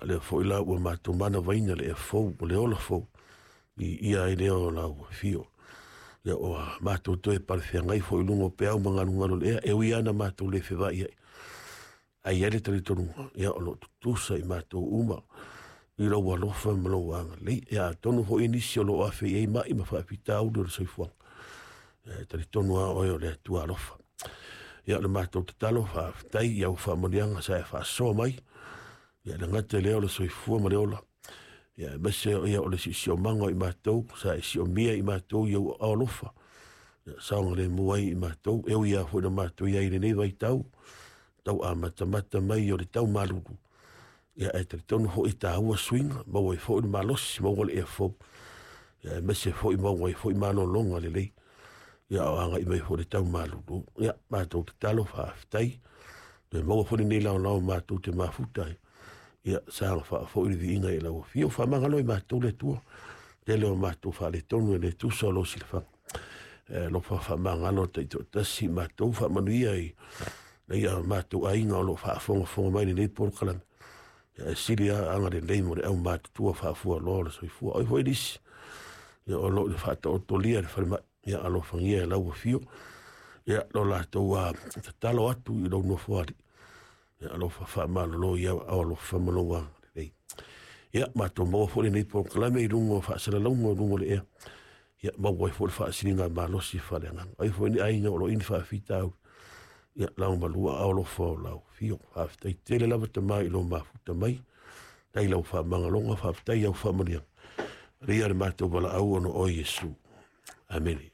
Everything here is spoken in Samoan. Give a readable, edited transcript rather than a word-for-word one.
lea foi la ua matou manavaina le ea fou ma le ola fou, viia ai lea o lau afio. Ia ua matou toe palefeagai foi i luga o peau ma galugalu o le ea, e ui lava ina matou le fevaai ai, ae i ai le talitonuga, ia o lo o tutusa i matou uma i lou alofa ma lou agalelei. Ia atonu foi nisi o lo o afe i ai mai ma faafitauli o le soifuaga, ia e talitonu lava oe o le Atua alofa. Ia o le matou tatalo, faafetai i au faamanuiaga sa e faasoa mai, ia le gata i lea o le soifua ma le ola, ia aemaise ia o le siosiomaga o i matou sa e siomia i matou i ou aao alofa, ia saogalemu ai i matou, e ui lava foi ina matou i ai i lenei vaitau, tau amatamata mai o le tau malulu, ia ae talitonu foi e taua suiga, maua ai foi le malosi, maua le ea fou, ia aemaise foi maua ai foi malologa lelei, ia o agai mai foi le tau malulu. Ia matou tatalo faafetai, toe maua foi lenei laolao matou te mafuta ai, ia saga faafoi le viiga i lau afio, faamagalo i matou le Atua, tele o matou faaletonu e le tusa o lou silafaga. E alofa faamagalo taitoatasi i matou, faamanuia i ia matou aiga o lo o faafogafoga mai lenei polokalame. Ia e sili lava agalelei mo le aumatutua faafualoa o le soifua. Oi foi nisi, ia o lo o faataotolia i le falemai, ia alofagia e lau afio. Ia lo latou tatalo atu i lou nofoalii, ia alofa faamalolo i au aao alofa ma lou agalelei. Ia matou maua foi lenei polokalame i luga o faasalalauga o luga o le ea, ia maua ai foi le faasiligamalosi faaleagaga. Ai foi ni aiga o lo o i ni faafitauli, ia lagomalua aao alofa o lau afio. Faafetai tele lava Tama i lou mafuta mai, faafetai i lau faamagaloga, faafetai i au faamanuiaga. Alia le matou valaau ona o oe Iesu. Amene.